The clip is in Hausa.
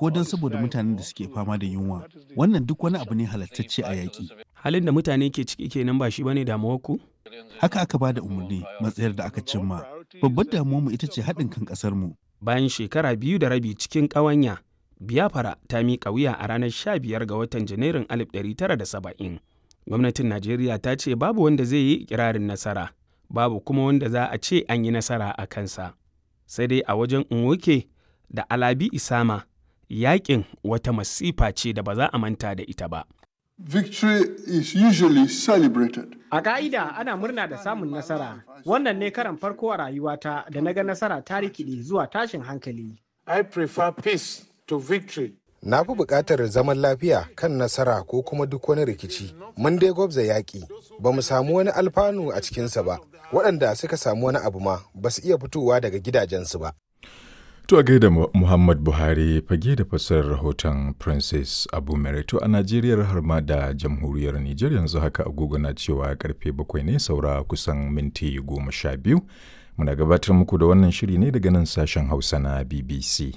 ko don saboda mutanen da suke fama da yunwa. Wannan duk wani abu ne halattacce a yaƙi. Halin da mutane ke ciki kenan ba shi bane damuwarku? Haka aka ba da umarni, matsayar da aka cimma. Babbar damuwarmu ita ce haɗin kan ƙasarmu. Bayan shekara 2.5 cikin ƙawanya, Biafra ta miƙa wuya a ranar 15 ga watan Janairun 1970. Gwamnatin Najeriya ta ce babu wanda zai yi ikirarin nasara, babu kuma wanda za a ce an yi nasara a kansa. Sai dai a wajen Nwoke da Alabi Isama, yaƙin wata masifa ce da ba za a manta da ita ba. Victory is usually celebrated. A ƙa'ida ana murna da samun nasara. Wannan ne karan farko a rayuwata da na ga nasara ta rikide zuwa tashin hankali. I prefer peace to victory. Na fi buƙatar zaman lafiya kan nasara ko kuma duk wani rikici. Mun dai gwabza yaƙi, ba mu samu wani alfanu a cikinsa ba. Waɗanda suka samu wani abu ma ba su iya fitowa daga gidajensu ba. To a gaida Muhammad Buhari fage da fassarar rahoton Princess Abu Merito a Najeriya har ma da jamhuriyar Nijar. Yanzu haka agogo na cewa karfe 7 ne saura kusan minti 12. Muna gabatar muku da wannan shiri ne daga nan sashen Hausa na BBC.